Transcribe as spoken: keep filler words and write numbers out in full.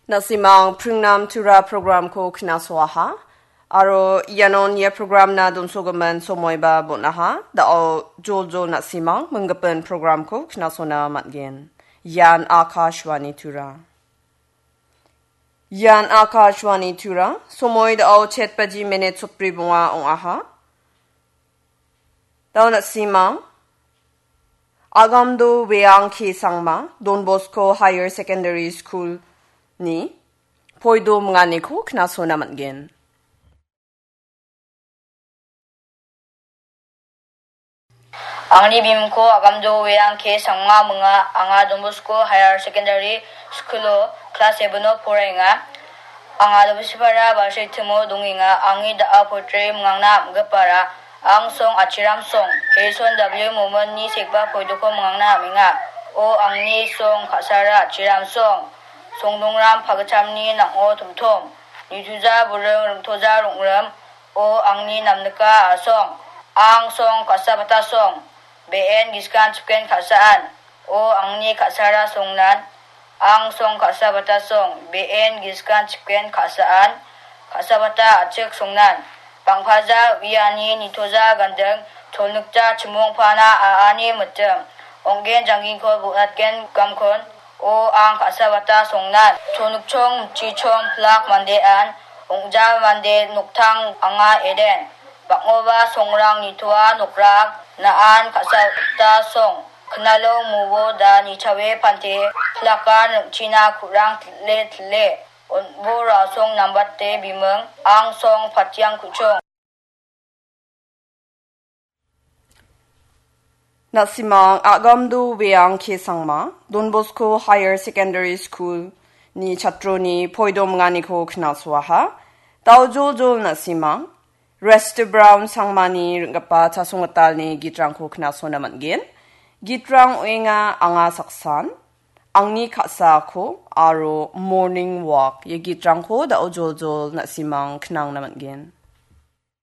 Na·simang pringnam tura programko knasoaha. Aro ianon ia programna donsogimin somoiba bon·aha. Da·o joljol na·simang minggipin programko knasona man·gen. Ian Akashvani Tura. Ian Akashvani Tura. Somoi da·o chet baji minit sotbri bonga ong·aha. Da·o na·simang Agamdo Weang K Sangma, Don Bosco Higher Secondary School-ni poido minganiko knasona man·gen. Angni bimingko Agamdo Weang K Sangma minga, anga Don Bosco Higher Secondary School-o class seven-o poraenga. Anga Dobsipara Balsritimo dongenga. Angni da·a poetry mingangna am·gipara, ang song Achiram song, Harrison W Momon-ni sekba poidoko mingangna am·enga. O angni song ka·sara Achiram song, songnongram pagitchamni nang·o tomtom, nitoja buring ringtoja rong·rim, o angni namnika a·song, ang song ka·sabata song, be·en giskan chipen ka·saan, o angni ka·sara songnan, ang song ka·sabata song, be·en giskan chipen ka·saan, ka·sabata a·chik songnan, bang·paja uiani nitoja ganding, cholnikja chimongpana a·ani mitim, ong·gen janggingko bonatgen gamkon, o ang ka·sabata songnan, cholnikchong, mitchichong, pilak mandean, ong·ja mande noktang anga eden. Bang·oba songrang nitoa nokrak, na·an ka·sabata song. Knalo mubo da nichawe pante, plakan ringchina kurang tile tile. Onbo rasong nambate biming, ang song patiang kuchong. Na·simang Agamdo Weang K Sangma, Don Bosco Higher Secondary School-ni chatroni poido minganiko knasoaha. Da·o joljol na·simang Rester Brown Sangmani ring·gipa Chasonggitalni gitrangko knasona man·gen. Gitrang ong·enga Anga Saksan, Angni Ka·sako aro Morning Walk ia gitrangko da·o joljol na·simang knangna man·gen.